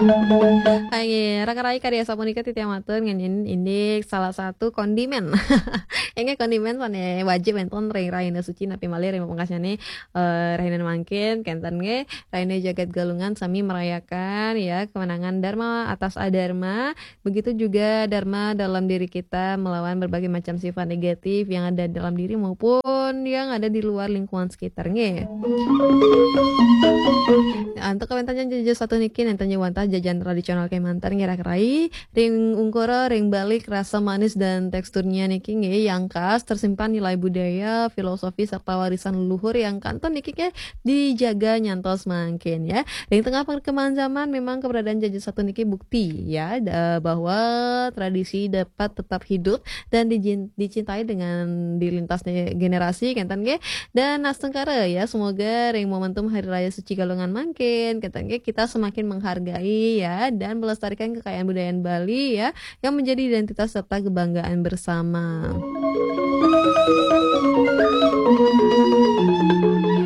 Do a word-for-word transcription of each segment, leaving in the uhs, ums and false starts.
Hai, raka rai, karya sapunika titiang matur ngeninin indik salah satu kondimen. Inggih kondimen sané wajib wénten ring rahina suci napi malih ring pungkasnyané, eh, rahina mangkin, kénten nggih, rahina jagat Galungan sami merayakan ya kemenangan Dharma atas Adharma, begitu juga Dharma dalam diri kita melawan berbagai macam sifat negatif yang ada dalam diri maupun yang ada di luar lingkungan sekitar nggih. Antuk kawéntenan jaja satu niki nénten wantah jajan tradisional kémanten nggih raka rai. Ring ungkura, ring balik rasa manis dan teksturnya niki nggih yang khas tersimpan nilai budaya, filosofi serta warisan leluhur yang kantun niki nggih dijaga nyantos mangkin ya. Ring tengah perkembangan zaman memang keberadaan jaja satu niki bukti ya da- bahwa tradisi dapat tetap hidup dan dijin- dicintai dengan di lintas ne- generasi kénten nggih. Dan astungkara ya, semoga ring momentum Hari Raya Suci Galungan mangkin, kénten nggih, kita semakin menghargai ya dan melestarikan kekayaan budaya Bali ya, yang menjadi identitas serta kebanggaan bersama.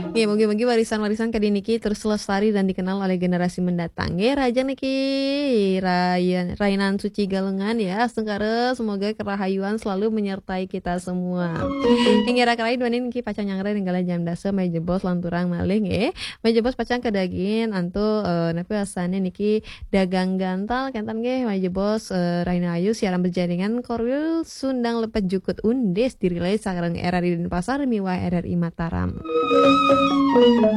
Nggih, mugi-mugi warisan-warisan kadi niki terus lestari dan dikenal oleh generasi mendatang. Nggih, rahajeng niki rayan, rainan suci Galungan ya. Astungkara semoga kerahayuan selalu menyertai kita semua. Inggih raka rai, duaning niki pacang nyanggra ring galah jam dasa, malih jebos lanturang malih nggih. Malih jebos pacang kadagingin antuk, eh, napi wastané niki dagang gantal kénten nggih, malih jebos, eh, rahina ayu siaran berjaringan Korwil Sundang Lepet Jukut Undis dirilai sareng R R I Denpasar miwah R R I Mataram.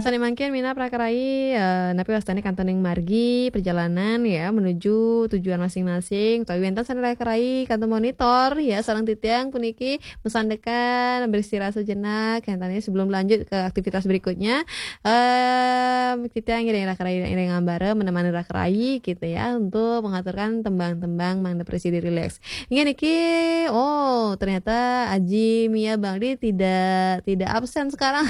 Sané mangkin minab raka rai, eh, napi wastané kantun ing margi perjalanan ya menuju tujuan masing-masing. Utawi wénten sané raka rai kantun monitor ya sareng titiang puniki masandekan beristirahat sejenak, kénten nggih, sebelum lanjut ke aktivitas berikutnya. Em, titiang ngiring raka rai, ngiring ambara menemani raka rai gitu ya untuk mengaturkan tembang-tembang mangda prasida rileks. Inggih niki, oh, ternyata Aji Mia Bangli tidak, tidak absen sekarang.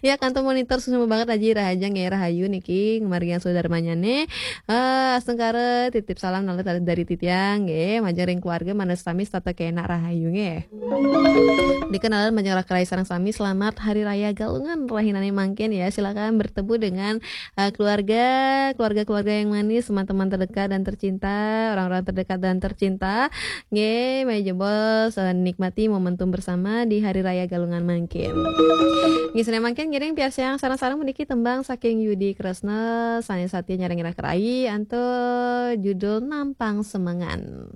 Ya, kantun monitor suksma banget Aji, rahajeng nggih, rahayu niki ngamargiang sadarmanyané. Eh, astungkara titip salam malih dari titiang nggih, majeng ring keluarga mangda sami setata kenak rahayu nggih. Dikenalan majeng raka rai sareng sami, selamat Hari Raya Galungan rahinané mangkin ya. Silakan bertemu dengan, eh, keluarga, keluarga-keluarga yang manis, teman-teman terdekat dan tercinta, orang-orang terdekat dan tercinta. Nggih, malih jebos, eh, nikmati momentum bersama di Hari Raya Galungan mangkin. Nggih, sané mangkin ngiring piarsayang sareng-sareng puniki tembang saking Yudi Kresna, sané satia nyarengin raka rai, antuk judul Nampang Semengan.